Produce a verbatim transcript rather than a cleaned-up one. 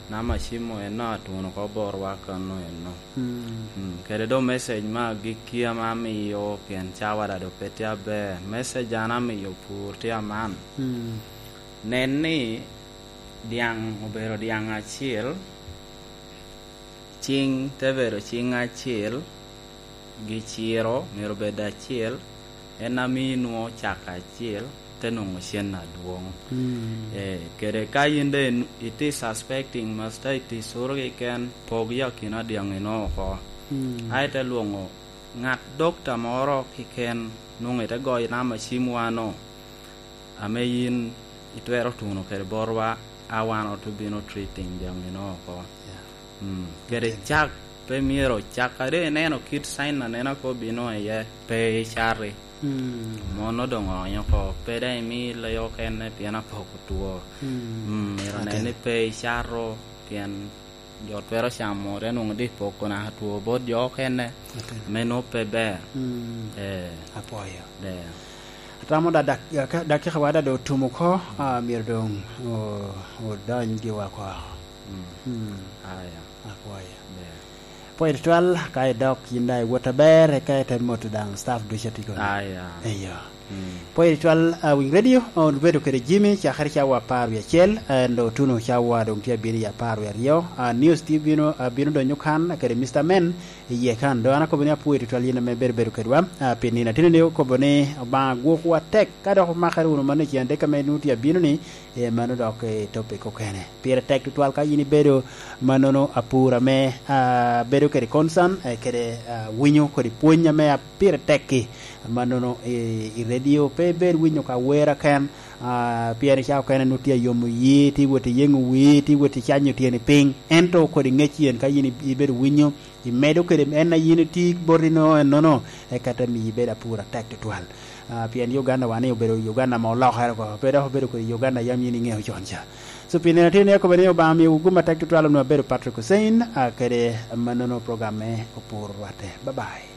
Namba cim-mu enno atuno oko botwa kano enno. Mm. Mm, kede doŋ message me agikki ame amio, pien cawa daŋ doŋ pe tye aber. Message an amio pur tye aman. Mm. Nen ni dyaŋ obedo dyaŋ acel, ciŋ te bedo ciŋ acel, giciro myero obed acel, en a mii nwoŋo cak acel, te nwoŋo cen adwoŋ. Mm. Eh, kede ka yin doŋ in-, itye suspecting, masta itye curo keken, pog i akina dyaŋino oko. Mm. A ite lwoŋo ŋat dokta moro keken, nwoŋo ite goyo namba cim wano, ame yin itwero tuno kede botwa, a wan ote bino treating dyaŋino oko. Yeah. Mm. Kede cak, pe myero cak, a doŋ ineno kit sign anena ko bino iye, pe icati. Mm. Mono doŋ oonyo oko, pe daŋ imi leo okene pien apoko two. Mm. Mm, myero onen ni pe icato, pien jo twero camo, te nwoŋo di poko naka two bot jo okene, ame nwoŋo pe ber. Mm. Eh. Apwoyo. Ber. Atamo da-, dak-, ka-, dakika wa da doŋ otum oko, ah, myero doŋ o-, odony giwa oko. Mm. Mm. Aya. Apwoyo. Ber. Apwoyo tutwal, ka idok yin daŋ iwot aber, eka ite moto daŋ staff ducu a tye koni. Aya. Eyo. Mm. Pwod itwal, ah, Wing Radio, ah, obedo kede Jimmy, cakere cawa apar wie acel, ah, en doŋ otuno cawa doŋ tye abino i apar wie aryo. Ah, news tye bino, ah, bino donyo kan, kede Mister Men, iye kan. Doŋ an akobo ni apwoyo tutwal yin ame ibedo bedo kedwa, ah, pi nino ateni ni okobo ni Obaŋa gwokwu atek, ka dok omakere wunu manno i cen adek ame nwoŋo tye abino ni, eh, mano dok, eh, topic okene. Pire tek tutwal ka yin ibedo mannono apur ame, ah, bedo kede concern, eh, kede, ah, winyo kodi pwony ame a-, pire tek-ki. Mannono i, i redio pe ibed winyo ka wer aken, ah, pien i cawa okene nwoŋo tye ayomo yi, tye wot iyeŋo wii, tye wot icanyo tyeni piny. Ento kodi ŋec yen ka yin i-, ibedo winyo, imedo kede en a yin itye botino ennono, eka te miyo ibed apur atek tutwal. Ah, pien Uganda wa ni obedo Uganda ame olokere oko, pe dok obedo kodi Uganda yam yin iŋeo con ca. So, pi nino atye ni akobo ni Obaŋa miyowu gum atek tutwal, onwoŋo abedo Patrick Hussein, ah, kede mannono program me Opur Rwatte. Bye bye.